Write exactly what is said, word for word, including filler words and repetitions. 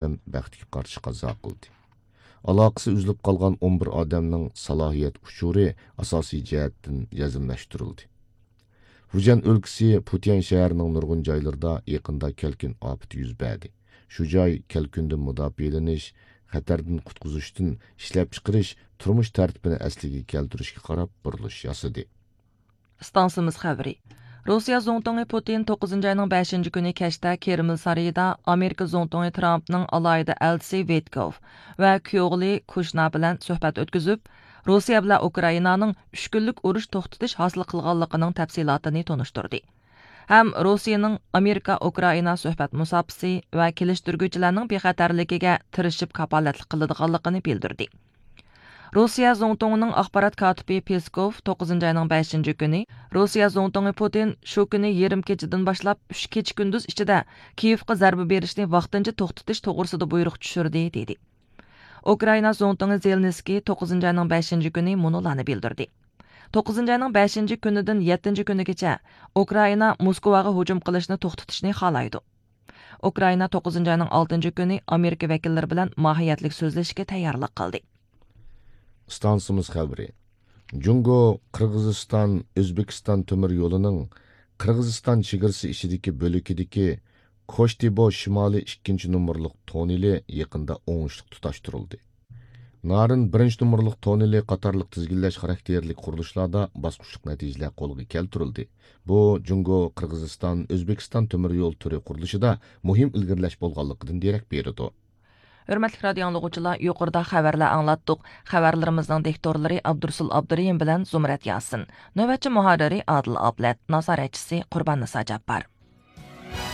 ئادەم بەختكە قارشى قازا قىلدى. ئالاقىسى ئۈزۈلۈپ قالغان ئون بىر ئادەمنىڭ سالاھىيەت ئۇچۇرى ئاساسىي جەھەتتىن يەزمىلەشتۈرۈلدى. فۇجيەن ئۆلكىسى پۇتيەن شەھىرىنىڭ نۇرغۇن جايلىرىدا يېقىندا كەلكۈن ئاپىتى يۈز بەردى. شۇ جاي كەلكۈندىن مۇداپىئەلىنىش، خەتەردىن قۇتقۇزۇشتىن ئىشلەپچىقىرىش، تۇرمۇش تەرتىپىنى ئەسلىگە كەلتۈرۈشكە قاراپ بۇرۇلۇش ياسىدى. ئىستانسىمىز خەۋىرى. روسىيە زۇڭتۇڭى پۇتىن توققۇزىنچى ئاينىڭ بەشىنچى كۈنى كەچتە كرېمل سارىيىدا ئامېرىكا زۇڭتۇڭى ترامپنىڭ ئالاھىدە ئەلچىسى ۋىتكوف ۋە كۈيئوغلى كۇشنېر بىلەن سۆھبەت ئۆتكۈزۈپ، روسىيە بىلەن ئۇكرائىنانىڭ ئۈچ كۈنلۈك ئۇرۇش توختىتىش ھاسىل قىلغانلىقىنىڭ تەپسىلاتىنى تونۇشتۇردى ھەم روسىيىنىڭ ئامېرىكا ئۇكرائىنا سۆھبەت مۇساپىسى ۋە كېلىشتۈرگۈچىلەرنىڭ بىخەتەرلىكىگە تىرىشىپ كاپالەتلىك قىلىدىغانلىقىنى بىلدۈردى. روسىيە زۇڭتۇڭىنىڭ ئاخبارات كاتىپى پېسكوف توققۇزىنچى ئاينىڭ بەشىنچى كۈنى روسىيە زۇڭتۇڭى پۇتىن شۇ كۈنى يېرىم كېچىدىن باشلاپ ئۈچ كېچە كۈندۈز ئىچىدە كىيېۋقا زەربە بېرىشنى ۋاقتىنچە توختىتىش توغرىسىدا بۇيرۇق چۈشۈردى، دېدى. ئۇكرائىنا زۇڭتۇڭى زېلېنسكىي توققۇزىنچى ئاينىڭ بەشىنچى كۈنى مۇنۇلارنى بىلدۈردى. توققۇزىنچى ئاينىڭ بەشىنچى كۈنىدىن يەتتىنچى كۈنىگىچە ئۇكرائىنا موسكۋاغا ھۇجۇم قىلىشنى توختىتىشنى خالايدۇ. ئۇكرائىنا توققۇزىنچى ئاينىڭ ئالتىنچى كۈنى ئامېرىكا ۋەكىللىرى بىلەن ماھىيەتلىك سۆزلىشىشكە تەييارلىق قىلدى. ئىستانسىمىز خەۋىرى. جۇڭگو، قىرغىزىستان، ئۆزبېكىستان تۆمۈر يولىنىڭ قىرغىزىستان چېگرىسى ئىچىدىكى بۆلىكىدىكى كوشتىبو شىمالىي ئىككىنچى نومۇرلۇق توننېلى يېقىندا ئوڭۇشلۇق تۇتاشتۇرۇلدى. نارىن بىرىنچى نومۇرلۇق توننېلى قاتارلىق تىزگىنلەش خاراكتېرلىك قۇرۇلۇشلاردا باسقۇچلۇق نەتىجىلەر قولغا كەلتۈرۈلدى. بۇ، جۇڭگو، قىرغىزىستان، ئۆزبېكىستان تۆمۈر يول تۈرى قۇرۇلۇشىدا مۇھىم ئىلگىرىلەش بولغانلىقىدىن دېرەك بېرىدۇ. ھۆرمەتلىك رادىئو ئاڭلىغۇچىلار، يۇقىرىدا خەۋەرلەر ئاڭلاتتۇق. خەۋەرلىرىمىزنىڭ دىكتورلىرى ئابدۇرۇسۇل ئابدۇرېھىم بىلەن زۇمرەت ياسىن. نۆۋەتچى مۇھەررىرى ئادىل ئابلەت، نازارەتچىسى قۇرباننىسا جاپپار.